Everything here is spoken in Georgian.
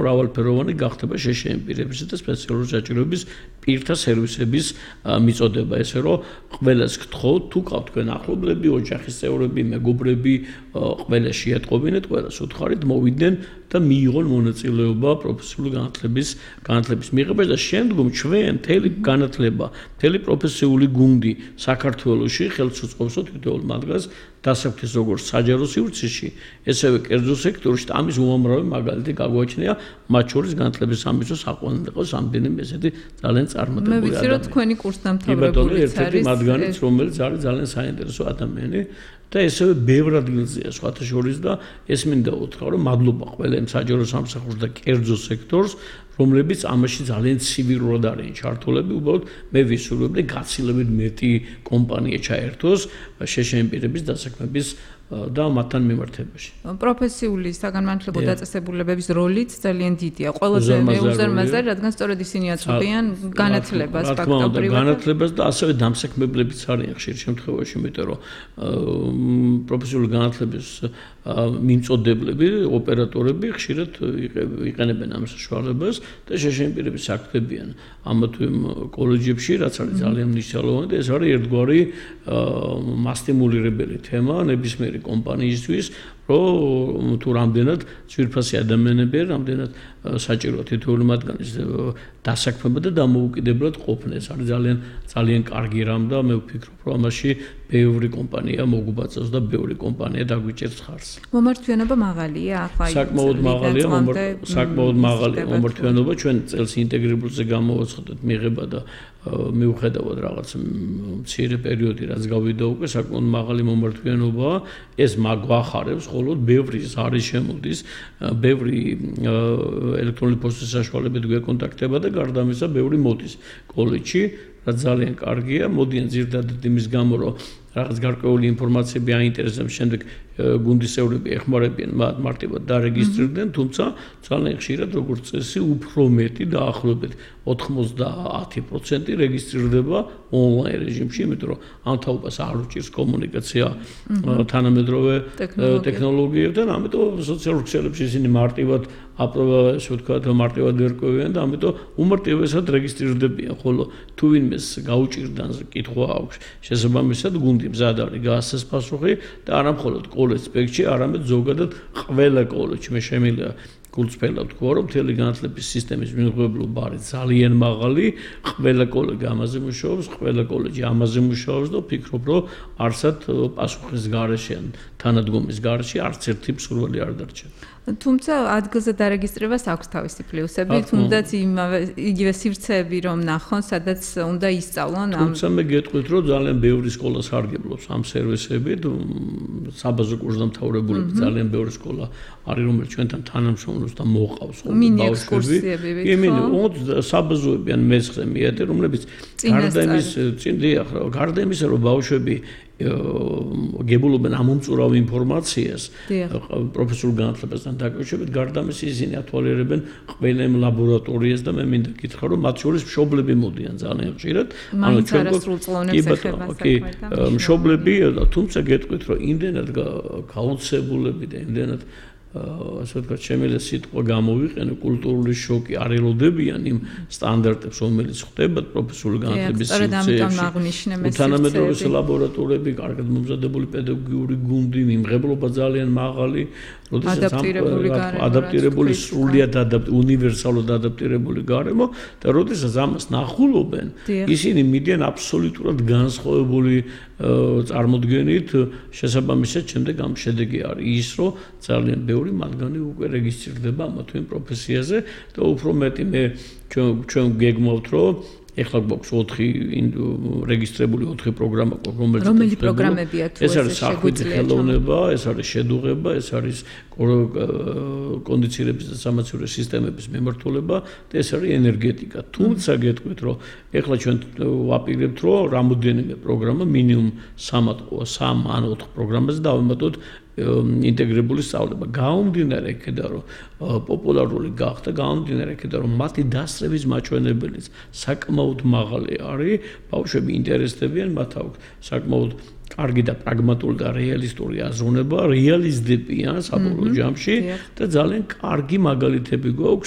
მრავალფეროვანი გახდება შეშინებული პირებისა და სპეციალური საჭიროების პირთა სერვისების მიწოდება, ესე რომ ყველას გთხოვთ, თუ გაქვთ თქვენ ახლობლები, ოჯახის წევრები, მეგობრები, ყველა შეატყობინეთ, ყველას უთხარით მოვიდნენ და მიიღონ მონაწილეობა პროფესიული განათლების მიღებაში და შემდგომ ჩვენ მთელი განათლება, მთელი პროფესიული გუნდი საქართველოში ხელს უწყობს თითოეულ მათგანს დასაქმების როგორც საჯარო სივრცეში, ესევე კერძო სექტორში და ამის უამრავი მაგალითი გაგვაჩნია, მათ შორის განათლების სამეცნიერო საყოველთაო რამდენიმე ესეთი ძალიან წარმატებული ადამიანი. მე ვიცი რომ თქვენი კურსდამთავრებულიც არის მათგანიც, რომელიც არის ძალიან საინტერესო ადამიანი და ესევე ბევრ ადგილზეა სხვათა შორის და ეს მინდა უთხრა რომ მადლობა ყველა იმ საჯარო სამსახურს და კერძო სექტორს რომლებიც ამაში ძალიან ცივირულად არიან ჩართულები, უბრალოდ მე ვისურვებდი გაცილებით მეტი კომპანია ჩაერთოს შეშინებული პირების დასაქმების და მათთან მიმართებაში. პროფესიული საგანმანათლებლო დაწესებულებების როლიც ძალიან დიდია. ყველაზე უზარმაზარი, რადგან სწორედ ისინი აწვდიან განათლებას, ფაქტობრივად. განათლებას და ასევე დამსაქმებლებიც არიან ხშირ შემთხვევაში, იმიტომ რომ პროფესიული განათლების მიმწოდებლები, ოპერატორები ხშირად იყენებენ ამ საშუალებას და შეშინებული პირები საქმდებიან ამ თუ იმ კოლეჯებში, რაც არის ძალიან მნიშვნელოვანი და ეს არის ერთგვარი მასტიმულირებელი თემა ნებისმიერი კომპანიისთვის, რომ თუ რამდენად ძვირფასი ადამიანები არ რამდენად საჭიროა თითოეული მათგანის დასაქმება და დამოუკიდებლად ყოფნა. ეს არის ძალიან კარგი რამ და მე ვფიქრობ, რომ ამაში ბევრი კომპანია მოგუბაწევს და ბევრი კომპანია დაგვიჭერს ხარს. მომართვიანობა მაღალია, ახლა საკმაოდ მაღალია, საკმაოდ მაღალია მომართვიანობა, ჩვენ წელს ინტეგრებულზე გამოვაცხადეთ მიღება და მიუხედავად რაღაც მცირე პერიოდი რაც გავიდა უკვე საკმაოდ მაღალი მომართვიანობაა, ეს მაგვახარებს ხოლო ბევრი არის შემოდის, ბევრი ელექტრონული პოსტის საშუალებით გვეკონტაქტება და გარდა ამისა ბევრი მოდის კოლეჯში, რაც ძალიან კარგია, მოდიან ზირდადად იმის გამო, რომ რაღაც გარკვეული ინფორმაციები აინტერესებს, შემდეგ გუნდის წევრები ეხმარებიან მათ მარტივად დარეგისტრირდნენ, თუმცა ძალიან ხშირად როგორც წესი უფრო მეტი დაახლოებით 90% რეგისტრირდება ონლაინ რეჟიმში, იმიტომ რომ ამ თაობას არ უჭირს კომუნიკაცია თანამედროვე ტექნოლოგიებთან, ამიტომ სოციალურ ქსელებში ისინი მარტივად ასე ვთქვათ, მარტივად ერკვევიან და ამიტომ უმარტივესად რეგისტრირდებიან, ხოლო თუ ვინმეს გაუჭირდან კითხვა აქვს შესაბამისად გუნდი მზად არის გაასცეს პასუხი და არა მხოლოდ კოლეჯ სპექტში, არამედ ზოგადად ყველა კოლეჯში მე შემიძლია გულწრფელად თქვა, რომ მთელი განათლების სისტემის მიმღებლობა არის ძალიან მაღალი, ყველა კოლეჯი ამაზე მუშაობს, ყველა კოლეჯი ამაზე მუშაობს და ვფიქრობ, რომ არსად პასუხის გარეშე ან თანადგომის გარეშე არც ერთი მსურველი არ დარჩა. თუმცა ადგილზე დარეგისტრებას აქვს თავისი პლუსები, თუნდაც იგივე სივრცეები რომ ნახონ, სადაც უნდა ისწავლონ ამ. თუმცა მე გეტყვით, რომ ძალიან ბევრი სკოლა სარგებლობს ამ სერვისებით, საბაზო კურსდამთავრებულები ძალიან ბევრი სკოლა არის, რომელიც ჩვენთან თანამშრომლობს და მოყავს ბავშვები. საბაზოები ან მეცხრე მეათე, რომლებიც გარდა იმისა, რომ ბავშვები გებულობენ ამომწურავ ინფორმაციას პროფესიულ განათლებასთან დაკავშირებით, გარდა ამისა ისინი ათვალიერებენ ყველა იმ ლაბორატორიას და მე მინდა გითხრა, რომ მათ შორის მშობლები მოდიან ძალიან ხშირად. ანუ ჩვენ მშობლები, თუმცა გეტყვით, რომ იმდენად გაოცებულები და იმდენად ასე ვთქვათ, შემიძლია სიტყვა გამოვიყენო, კულტურული შოკი არ ელოდებიან იმ სტანდარტებს, რომელიც ხდება პროფესიული განათლების სივრცეებში. თანამედროვე ლაბორატორიები, კარგად მომზადებული პედაგოგიური გუნდი, მიმღებლობა ძალიან მაღალი, როდესაც ადაპტირებული სრულიად უნივერსალურად ადაპტირებული გარემო და როდესაც ამას ნახულობენ, ისინი მიდიან აბსოლუტურად განსხვავებული წარმოდგენით, შესაბამისად შემდეგ ამ შედეგი არის ის, რომ ძალიან ბევრი მათგანი უკვე რეგისტრირდება ამ თუ იმ პროფესიაზე და უფრო მეტი მე ჩვენ გეგმავთ, რომ ეხლა გვაქვს 4 რეგისტრირებული 4 პროგრამა, რომელი პროგრამებია თუ ეს არის საქმის ხელოვნება, ეს არის შედუღება, ეს არის კონდიცირების და სამაცივრო სისტემების მიმართულება და ეს არის ენერგეტიკა. თუმცა გეტყვით, რომ ეხლა ჩვენ ვაპირებთ, რომ რამოდენიმე პროგრამა მინიმუმ 3 ან 4 პროგრამაზე დავემატოთ ინტეგრირებული სწავლება. გაუმდინარე იქიდან, რომ პოპულარული გახდა, გაუმდინარე იქიდან, რომ მათი დასწრების მაჩვენებელიც საკმაოდ მაღალი არის, ბავშვები ინტერესდებიან, მათ აქვს საკმაოდ კარგი და პრაგმატული და რეალისტური აზროვნება, რეალიზდებიან საბოლოო ჯამში და ძალიან კარგი მაგალითები გვაქვს